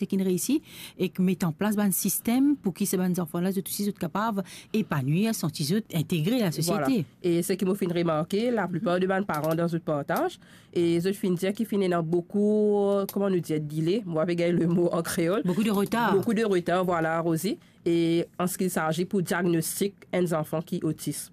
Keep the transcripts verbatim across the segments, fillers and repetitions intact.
seki reisi, ek met an plas bann sistem pou ki sa bann zanfan la, zot osi, zot kapav epanwir, santi zot integre lasosiete. Vwala. E seki mo finn remarke, laplipar de bann paran dan zot partaz, e zot finn dir ki finn ena boukou, kouma nou dir, dile, mo pa pe gagn lemo an kreol. Boukou de retar. Boukou de retar, vwala, Rosie. E an se ki saji pou diagnostik enn zanfan ki otis.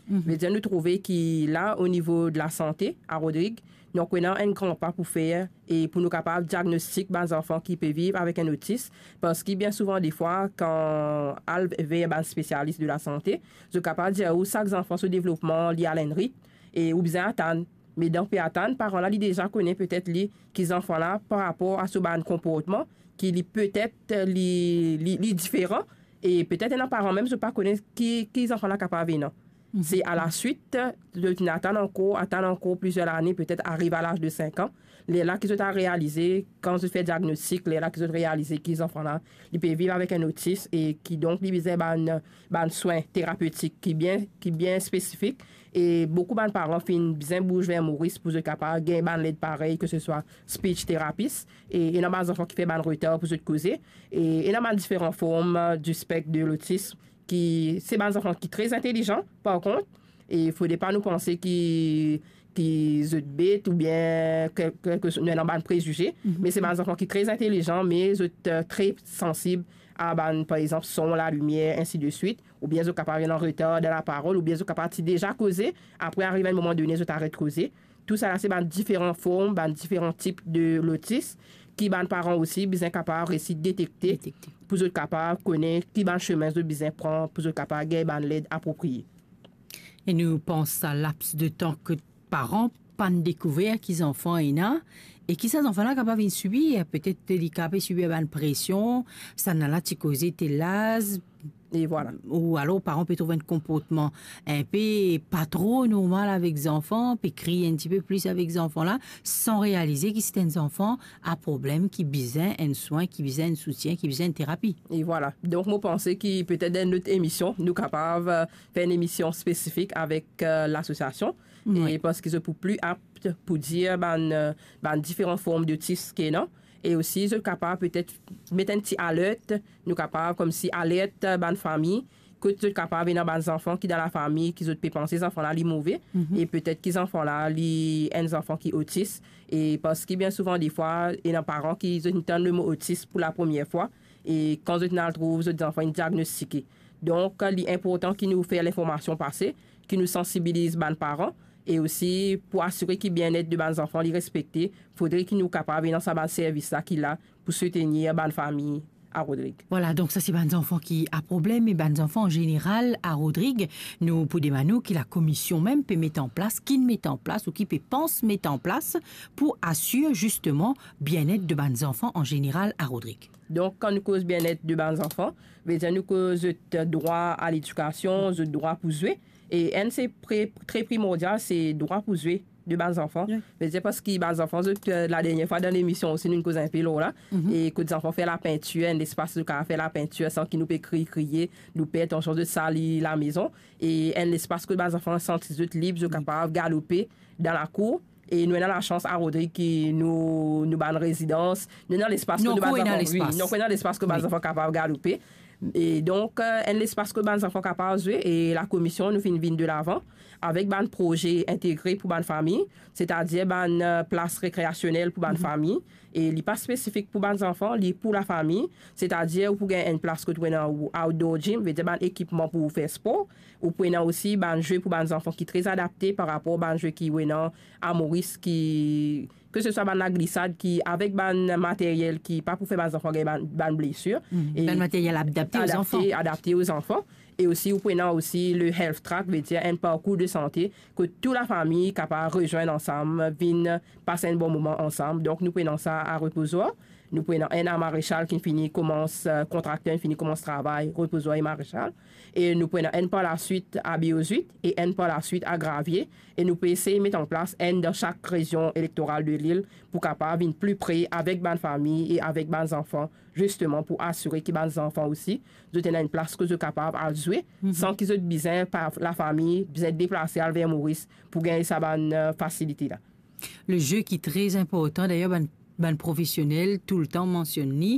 Mhm. Vedir nou trouve ki la, o nivo de lasante, a Rodrig, nou ankor ena enn gran pa pou fer, e pou nou kapav diagnostik bann zanfan ki pe viv avek enn otis, parski bien souvan defwa, kan al ver bann spesialis de lasante, zot kapav dir ou sak zanfan so devlopman, li al enn ritm, e ou bizin atann. Me dan pe atann, paran la, li deza kone petet li, ki zanfan la, par rapor a so bann konportman, ki li petet, li, li, li diferan, e petet ena paran mem, zot pa kone ki, ki zanfan la kapav ena. Mhm. Se a laswit, zot inn atann ankor, atann ankor plizier lane, petet ariv a laz de sink an, lerla ki zot al realize, kan zot fer diagnostik, lerla ki zot realize ki zanfan la, li pe viv avek enn otis, e kidonk li bizin bann, bann swin terapetik ki bien, ki bien spesifik, e boukou bann paran finn bizin bouz ver Moris pou zot kapav gagn bann led parey, ke se swa speech therapist, e ena bann zanfan ki fer bann retar pou zot koze, e ena bann diferan form, euh, du spectre de l'autisme, ki se bann zanfan ki tre intelijan, par kont, e fode pa nou panse ki, ki zot bet oubien ke, ke, ke nou ena bann prezize, mhm, me se bann zanfan ki tre intelijan, me zot, euh, tre sansib a bann, par exanp, son, lalimier, ensi de swit, oubien zot kapav ena retar dan laparol, oubien zot kapav ti deza koze, apre ariv enn moman done, zot aret koze. Tousala se bann diferan form, bann diferan tip de lotis ki bann paran osi bizin kapav resi detekte, detekte, pou zot kapav kone ki bann sime zot bizin pran, pou zot kapav gagn bann led apropriye. E nou pans sa laps de tan ke paran pa'nn dekouver ki zanfan ena, e ki sa zanfan la kapav vinn sibir, petet li kapav sibir bann presion, sa nala ti koze tel laz, e vwala, ou alor paran pe trouv enn konportman inpe pa tro normal avek zanfan, pe kriy enn tipe plis avek zanfan la, san realize ki se enn zanfan a problem ki bizin enn swin, ki bizin enn soutien, ki bizin enn terapi. E vwala. Donk, mo panse ki petet dan enn lot emision, nou kapav, euh, fer enn emision spesifik avek, euh, lasosiasion. Wi. E parski zot pou pli apt pou dir bann, euh, bann diferan form de tis ki ena. E osi, zot kapav petet met enn ti alert, nou kapav koumsi alert bann fami, kot zot kapav ena bann zanfan ki dan lafami, ki zot pe panse zanfan la li move, mhm, e petet ki zanfan la li enn zanfan ki otis. E parski bien souvan, defwa, ena paran ki zot inn tann lemo otis pou lapremier fwa, e kan zot inn al trouv zot zanfan inn diagnostike. Donk, li inportan ki nou fer linformasion pase, ki nou sansibiliz bann paran, e osi pou asire ki bienet de bann zanfan li respekte, fodre ki nou kapav ena sa bann servis la ki la pou soutenir bann fami a Rodrig. Vwala, donk sa se bann zanfan ki a problem, e bann zanfan an zeneral a Rodrig, nou pou demann ou ki lakomision mem pe met an plas, ki'nn met an plas ou ki pe pans met an plas pou asir zisteman bienet de bann zanfan an zeneral a Rodrig. Donk, kan nou koz bienet de bann zanfan, vedir nou koz zot drwa a ledikasion, zot drwa pou zwe. E enn se pre-, tre primordial, se drwa pou zwe de bann zanfan. Wi. Vedir parski bann zanfan, zot, euh, ladernie fwa dan lemision osi, nou koz inpe lor la. Mhm. E kot zanfan fer lapintir, enn lespas zot kapav fer lapintir san ki nou pe kriy, kriye, nou per tansion zot sali lamezon. E enn lespas kot bann zanfan santi zot lib, zot, wi, kapav galope dan lakour. E nou ena lasans a Rodrig ki nou, nou bann rezidans, nou ena lespas kot bann zanfan, wi, nou ena lespas kot bann zanfan kapav galope. E donk, euh, enn lespas kot bann zanfan kapav zwe, e lakomision nou finn vinn delavan avek bann proze integre pou bann fami, setadir bann, euh, plas rekreasionel pou bann, mhm, fami. E li pa spesifik pou bann zanfan, li pou lafami, setadir ou pou gagn enn plas kot ou ena ou outdoor gym, vedir bann ekipman pou fer spor, ou pou ena osi bann zwe pou bann zanfan ki tre adapte par rapor bann zwe ki ou ena a Moris ki, ke se swa bann laglisad ki avek bann materyel ki pa pou fer bann zanfan gagn bann, bann blesir. Mhm. E bann materyel adapte o zanfan. Adapte, adapte o zanfan. E osi, ou pou ena osi le health track, vedir enn parkour de sante, kot tou lafami kapav rezwenn ansam, vinn pas enn bon moman ansam. Donk, nou pou ena sa a Repozoar. Nou pou ena enn a Marechal ki fini koumans, euh, kontrakter fini koumans travay, Repozoar e Marechal. E nou pou ena enn par laswit a Beau Huit e enn par laswit a Gravier. E nou pou esey met an plas enn dan sak rezion elektoral de lil pou kapav vinn pli pre avek bann fami e avek bann zanfan, zisteman pou asire ki bann zanfan osi, zot ena enn plas kot zot kapav al zwe, mhm, san ki zot bizin, par lafami, bizin deplase al ver Moris pou gagn sa bann, euh, fasilite la. Le zwe ki tre inportan, dayer bann, bann profesionel toultan mansionn li,